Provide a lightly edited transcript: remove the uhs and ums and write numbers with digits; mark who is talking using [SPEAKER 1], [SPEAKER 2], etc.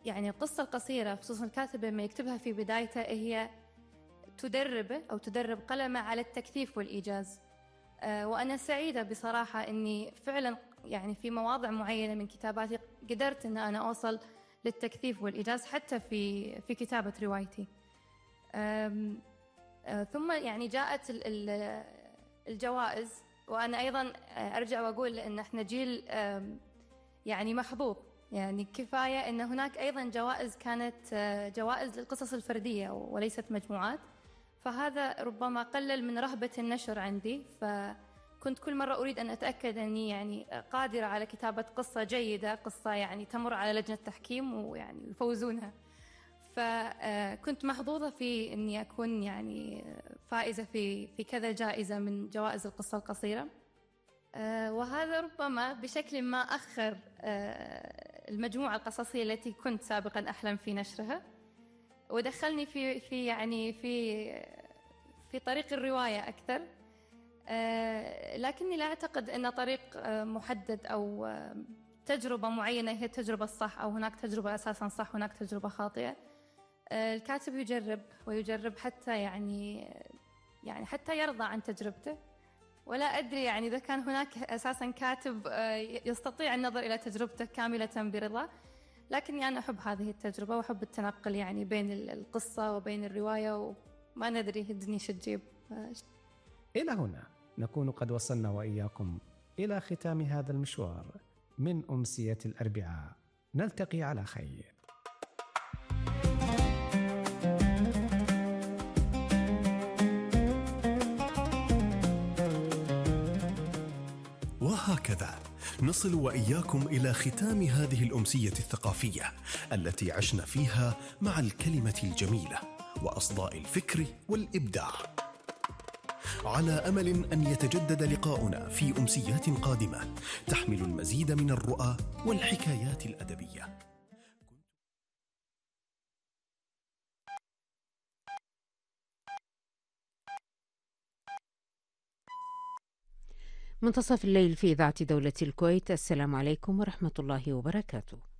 [SPEAKER 1] يعني القصة القصيرة خصوصا الكاتبة لما يكتبها في بدايته هي تدربه أو تدرب قلمه على التكثيف والإيجاز. وأنا سعيدة بصراحة أني فعلا يعني في مواضع معينة من كتاباتي قدرت أن أنا أوصل للتكثيف والإيجاز حتى في كتابة روايتي. ثم يعني جاءت الجوائز، وأنا أيضا أرجع وأقول أن احنا جيل يعني محظوظ، يعني كفاية أن هناك أيضا جوائز كانت جوائز للقصص الفردية وليست مجموعات، فهذا ربما قلل من رهبة النشر عندي، فكنت كل مرة أريد أن أتأكد أني يعني قادرة على كتابة قصة جيدة، قصة يعني تمر على لجنة تحكيم ويعني يفوزونها. فكنت محظوظة في أني أكون يعني فائزة في كذا جائزة من جوائز القصة القصيرة. وهذا ربما بشكل ما أخر المجموعة القصصية التي كنت سابقا أحلم في نشرها، ودخلني في يعني في طريق الرواية أكثر. لكني لا أعتقد أن طريق محدد أو تجربة معينة هي التجربة الصح، أو هناك تجربة أساسا صح هناك تجربة خاطئة. الكاتب يجرب ويجرب حتى يعني حتى يرضى عن تجربته. ولا أدري يعني إذا كان هناك أساسا كاتب يستطيع النظر إلى تجربته كاملة برضا، لكني أنا أحب هذه التجربة وأحب التنقل يعني بين القصة وبين الرواية، وما ندري الدنيا شو تجيب.
[SPEAKER 2] إلى هنا نكون قد وصلنا وإياكم إلى ختام هذا المشوار من أمسية الأربعاء. نلتقي على خير.
[SPEAKER 3] وهكذا نصل وإياكم إلى ختام هذه الأمسية الثقافية التي عشنا فيها مع الكلمة الجميلة وأصداء الفكر والإبداع، على أمل أن يتجدد لقاؤنا في أمسيات قادمة تحمل المزيد من الرؤى والحكايات الأدبية.
[SPEAKER 4] منتصف الليل في إذاعة دولة الكويت. السلام عليكم ورحمة الله وبركاته.